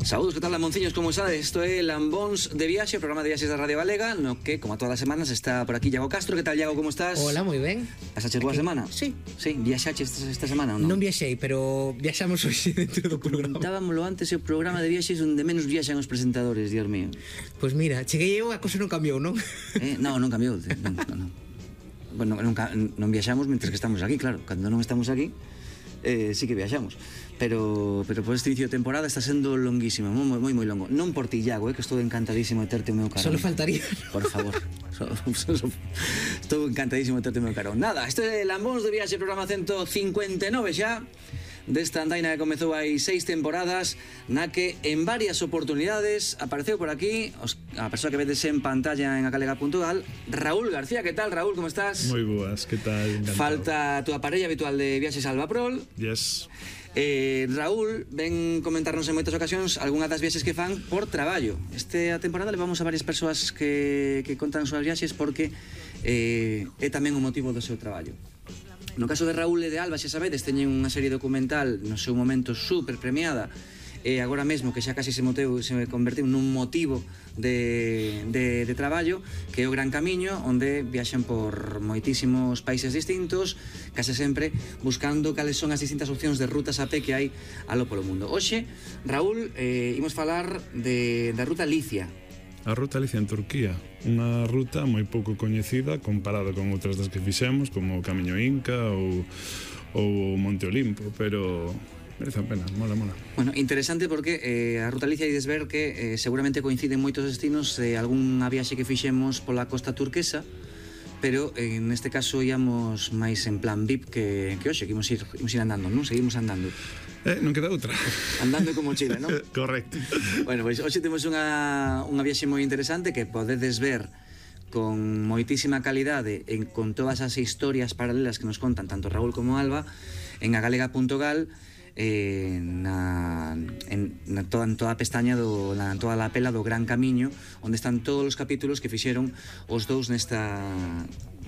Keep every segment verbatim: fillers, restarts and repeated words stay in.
Saúdos, que tal, Lamonciños, como sabes? Isto é Lambóns de Viaxe, o programa de viaxes da Radio Galega, no que, como a todas as semanas, está por aquí Iago Castro. Que tal, Iago, como estás? Hola, moi ben. Pasaches boa semana? Sí. Sí, viaxaches esta, esta semana ou non? Non viaxei, pero viaxamos hoxe dentro do programa. Comentábamoslo antes, o programa de viaxes onde menos viaxan os presentadores, Dios mío. Pois pues mira, cheguei eu, a cosa non cambiou, non? Eh, non, non cambiou, non, non. Bueno, non, non viaxamos mentre que estamos aquí, claro. Cando non estamos aquí, eh, sí que viaxamos. Pero, pero por este inicio de temporada está sendo longuísimo, moi, moi, moi longo. Non por ti, Iago, eh, que estou encantadísimo de terte o meu carón. Solo faltaría. Por favor. So, so, so, estou encantadísimo de terte o meu carón. Nada, isto é Lambóns de Viaxe, programa ciento cincuenta e nove xa, desta andaina que comezou hai seis temporadas, na que en varias oportunidades apareceu por aquí os, a persoa que vedes en pantalla en acalega punto gal, Raúl García. Que tal, Raúl, como estás? Moi boas, que tal? Encantado. Falta a tua parella habitual de viaxes, Albaprol. Yes. Eh, Raúl ven comentarnos en moitas ocasións algunhas das viaxes que fan por traballo. Esta temporada levamos a varias persoas que, que contan as súas viaxes porque eh, é tamén o motivo do seu traballo. No caso de Raúl e de Alba, xa sabedes, teñen unha serie documental no seu momento super premiada, e agora mesmo que xa casi se, moteu, se convertiu nun motivo de, de, de traballo, que é o Gran Camiño, onde viaxan por moitísimos países distintos, case sempre buscando cales son as distintas opcións de rutas a pé que hai alo polo mundo. Hoxe, Raúl, eh, imos falar de, da ruta Licia. A ruta Licia en Turquía, unha ruta moi pouco coñecida comparada con outras das que fixemos, como o Camiño Inca ou, ou Monte Olimpo, pero merece a pena, mola, mola. Bueno, interesante porque eh, a ruta Licia ides ver que eh, seguramente coinciden moitos destinos de algunha viaxe que fixemos pola costa turquesa, pero eh, neste caso íamos máis en plan V I P que, que hoxe, que imos ir, imos ir andando, non? Seguimos andando. Eh, non queda outra. Andando como mochila, non? Correcto. Bueno, pois hoxe temos unha, unha viaxe moi interesante que podedes ver con moitísima calidade e con todas as historias paralelas que nos contan tanto Raúl como Alba en agalega punto gal, eh, na, en, na toda, en toda a pestaña do, na toda a pela do Gran Camiño, onde están todos os capítulos que fixeron os dous nesta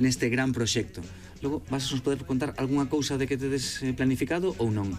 neste gran proxecto. Logo, vas a nos poder contar algunha cousa de que tedes planificado ou non?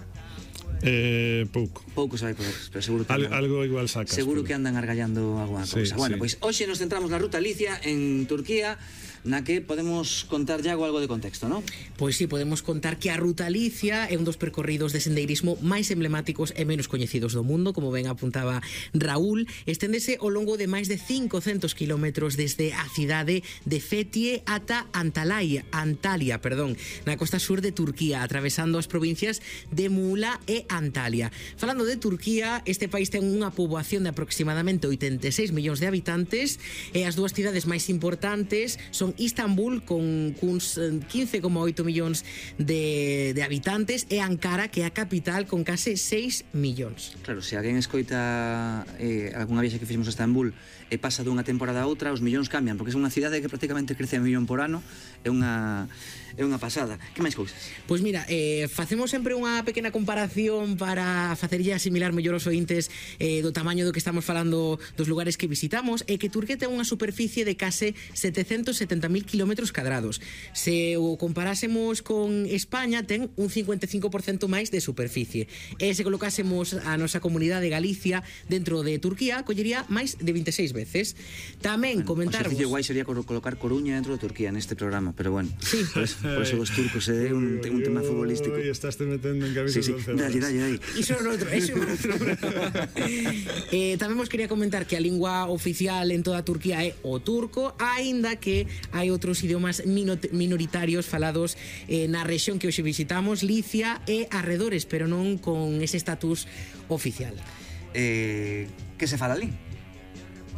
Eh, pouco. Pouco se vai poder, pero seguro que Al, andan, algo igual sacas. seguro pero... que andan argallando alguna cousa. Sí, Bueno, sí. pois hoxe nos centramos na ruta Licia en Turquía, na que podemos contar Iago algo de contexto, non? Pois sí, podemos contar que a ruta Licia é un dos percorridos de sendeirismo máis emblemáticos e menos coñecidos do mundo, como ben apuntaba Raúl. Esténdese ao longo de máis de cincocentos kilómetros desde a cidade de Fethiye ata Antalya, Antalya, perdón, na costa sur de Turquía, atravesando as provincias de Muğla e Antalya. Falando de Turquía, este país ten unha poboación de aproximadamente oitenta e seis millóns de habitantes e as dúas cidades máis importantes son Istambul, con cuns quince coma oito millóns de, de habitantes, e Ankara, que é a capital, con case seis millóns. Claro, se alguén escoita eh, algunha viaxe que fixemos a Estambul e pasa dunha temporada a outra, os millóns cambian, porque é unha cidade que prácticamente crece a millón por ano. É unha é unha pasada. Que máis cousas? Pois mira, eh, facemos sempre unha pequena comparación para facerlle asimilar mellor os ointes eh, do tamaño do que estamos falando dos lugares que visitamos, e que Turquía ten unha superficie de case setecentos setenta mil kilómetros cadrados. Se o comparásemos con España, ten un cincuenta e cinco por cento máis de superficie. E se colocásemos a nosa comunidade de Galicia dentro de Turquía, collería máis de vinte e seis veces. Tamén Bueno, comentarvos... o exercicio guai sería colocar Coruña dentro de Turquía neste programa, pero bueno. Sí. Por eso, por eso os turcos é un, un tema futbolístico. Ui, estás te metendo en Sí, camisas sí, de once varas. dalle, dalle, dalle. Iso é outro, iso é outro. eh, tamén vos quería comentar que a lingua oficial en toda Turquía é o turco, aínda que hai outros idiomas minoritarios falados eh, na rexión que hoxe visitamos, Licia e arredores, pero non con ese estatus oficial. Eh, que se fala ali?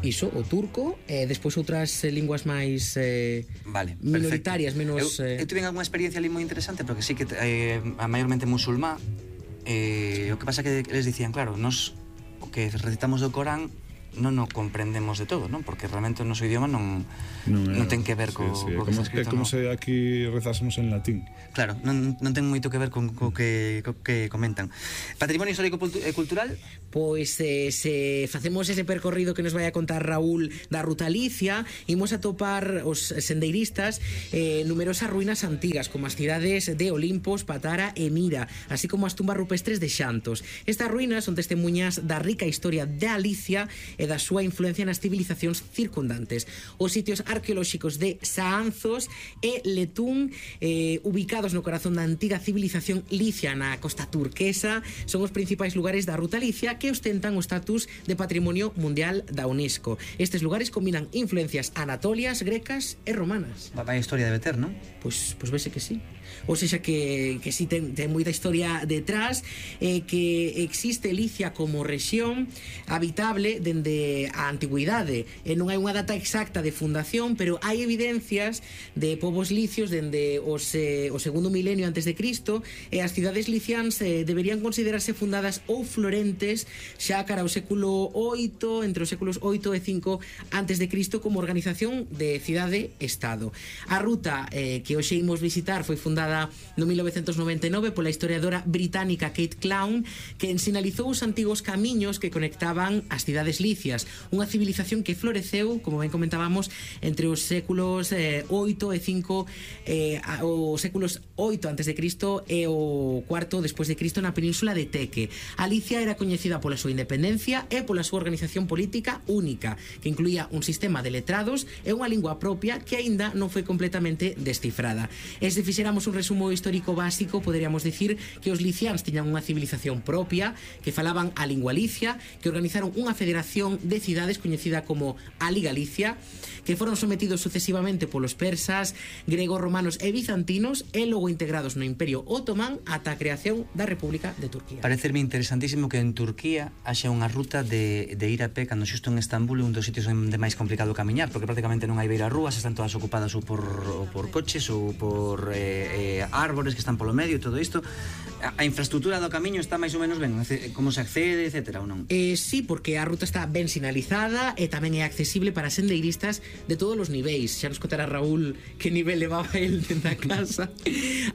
Iso, o turco, e despois outras eh, linguas máis eh, Vale, minoritarias, perfecto. menos... Eu, Eh... eu tive algunha experiencia ali moi interesante, porque sí que eh, a maiormente musulmá. Eh, o que pasa que eles dicían, claro, nos o que recitamos do Corán non o comprendemos de todo, non? Porque realmente o noso idioma non, non, é, non ten que ver co, sí, sí, co que como, está escrito. É como no. se aquí rezásemos en latín. Claro, non, non ten moito que ver con co que, co que comentan. Patrimonio histórico e cultural? Pois eh, se facemos ese percorrido que nos vai a contar Raúl da Ruta Alicia, imos a topar os sendeiristas eh, numerosas ruínas antigas, como as cidades de Olimpos, Patara e Mira, así como as tumbas rupestres de Xantos. Estas ruínas son testemunhas da rica historia de Alicia e da súa influencia nas civilizacións circundantes. Os sitios arqueolóxicos de Saanzos e Letún, eh, ubicados no corazón da antiga civilización licia na costa turquesa, son os principais lugares da Ruta Alicia que ostentan o estatus de Patrimonio Mundial da UNESCO. Estes lugares combinan influencias anatolias, grecas e romanas. Vai historia debe ter, non? Pois, pois vese que sí. Ou seja que, que sí ten, ten moita historia detrás, eh, que existe Licia como rexión habitable dende a antigüidade, e non hai unha data exacta de fundación, pero hai evidencias de povos licios dende os, eh, o segundo milenio antes de Cristo, e as cidades licians eh, deberían considerarse fundadas ou florentes xa cara ao século oito, entre os séculos oito e cinco antes de Cristo, como organización de cidade-estado. A ruta eh, que hoxe imos visitar foi fundada no mil novecentos noventa e nove pola historiadora británica Kate Clown, que sinalizou os antigos camiños que conectaban as cidades licias, unha civilización que floreceu, como ben comentábamos, entre os séculos eh, oito e cinco, eh, os séculos oito antes de Cristo e o cuarto despois de Cristo na península de Teque. Alicia era coñecida pola súa independencia e pola súa organización política única, que incluía un sistema de letrados e unha lingua propia que aínda non foi completamente descifrada. E se fixéramos un resumo histórico básico, poderíamos dicir que os liciáns tiñan unha civilización propia, que falaban a lingua licia, que organizaron unha federación de cidades coñecida como Ali-Galicia, que foron sometidos sucesivamente polos persas, gregos, romanos e bizantinos, e logo integrados no Imperio Otomán ata a creación da República de Turquía. Parecerme interesantísimo que en Turquía haxa unha ruta de, de ir a pé, cando xusto en Estambul é un dos sitios de máis complicado camiñar, porque prácticamente non hai beira rúas, están todas ocupadas ou por, ou por coches ou por eh, eh, árbores que están polo medio e todo isto. A, a infraestructura do camiño está máis ou menos ben, como se accede, etcétera, ou non? Eh, sí, porque a ruta está ben sinalizada e tamén é accesible para sendeiristas de todos os niveis. Xa nos contará Raúl que nivel levaba el dentro da casa.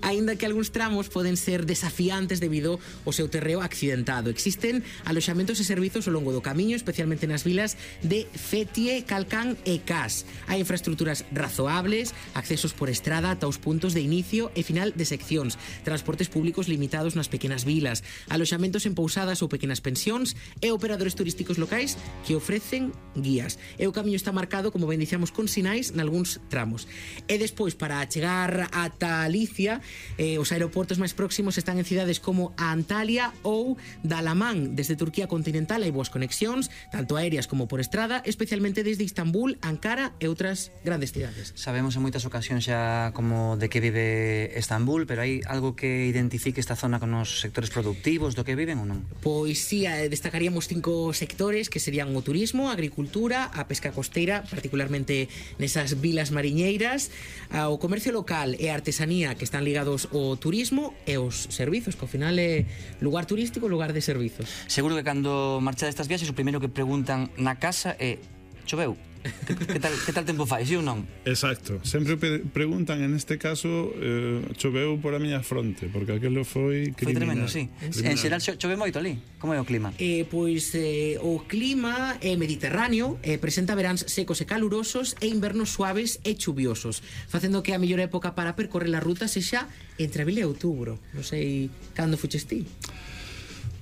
Aínda que algúns tramos poden ser desafiantes debido ao seu terreo accidentado. Existen aloxamentos e servizos ao longo do camiño, especialmente nas vilas de Fethiye, Kalkan e Kas. Hai infraestructuras razoables, accesos por estrada ata os puntos de inicio e final de seccións, transportes públicos limitados nas pequenas vilas, aloxamentos en pousadas ou pequenas pensións e operadores turísticos locais que ofrecen guías. E o camiño está marcado, como ben dicíamos, con sinais nalgúns tramos. E despois, para chegar ata Alicia, eh, os aeroportos máis próximos están en cidades como a Antalya ou Dalaman. Desde Turquía continental hai boas conexións, tanto aéreas como por estrada, especialmente desde Istambul, Ankara e outras grandes cidades. Sabemos en moitas ocasións xa como de que vive Estambul, pero hai algo que identifique esta zona con os sectores productivos do que viven ou non? Pois sí, destacaríamos cinco sectores que serían o turismo, a agricultura, a pesca costeira, particularmente nesas vilas mariñeiras, o comercio local e a artesanía, que están ligados ao turismo, e os servizos, que ao final é lugar turístico, lugar de servizos. Seguro que cando marchades estas viaxes o primeiro que preguntan na casa é: choveu? Que, que, tal, que tal tempo fai, si ou non? Exacto, sempre pe preguntan en este caso eh, choveu por a miña fronte, porque aquilo foi criminal. Foi tremendo, sí. Criminal. En xeral chove moito ali. Como é o clima? Eh, pois eh, o clima é mediterráneo, eh, presenta veráns secos e calurosos e invernos suaves e chuviosos, facendo que a mellor época para percorrer a ruta sexa entre abril e outubro. Non sei cando fuches ti.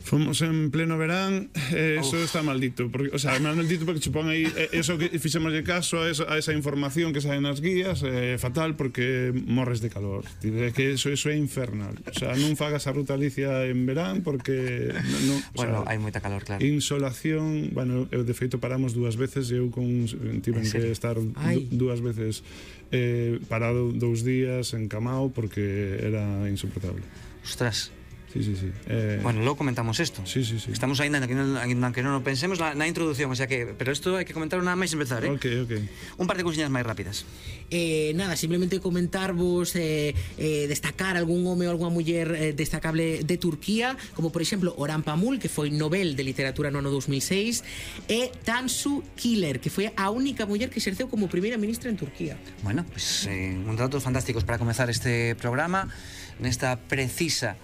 Fomos en pleno verán, eh, eso Uf. está maldito, porque, o sea, maldito porque chupón aí, eh, eso que fixemos de caso a esa, a esa información que sae nas guías, é eh, fatal porque morres de calor. É que eso, eso é infernal. O sea, non fagas a Ruta Alicia en verán porque non, o Bueno, sea, hai moita calor, claro. Insolación, bueno, eu de feito paramos dúas veces, eu con tiven que estar Ai. dúas veces eh, parado dous días encamado porque era insoportable. Ostras. Sí, Sí, sí, sí. Eh... Bueno, logo comentamos isto. Sí, sí, sí. Estamos ainda que non, que non o pensemos na, na introducción, o sea que, pero isto hai que comentar nada máis empezar, eh? Ok, ok. Un par de cousiñas máis rápidas. Eh, nada, simplemente comentarvos eh, eh, destacar algún home ou algunha muller eh, destacable de Turquía, como por exemplo Orhan Pamuk, que foi Nobel de Literatura no ano dos mil seis, e Tansu Çiller, que foi a única muller que exerceu como primeira ministra en Turquía. Bueno, pues eh, un datos fantásticos para comezar este programa nesta precisa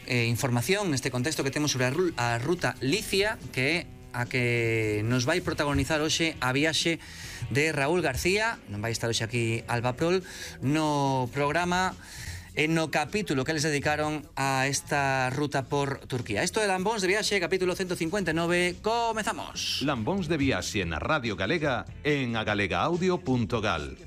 eh, información, neste contexto que temos sobre a, a ruta Licia, que é a que nos vai protagonizar hoxe a viaxe de Raúl García. Non vai estar hoxe aquí Alba Prol no programa e no capítulo que les dedicaron a esta ruta por Turquía. Isto é Lambóns de Viaxe, capítulo ciento cincuenta e nove. Comezamos. Lambóns de Viaxe na Radio Galega en agalega audio punto gal.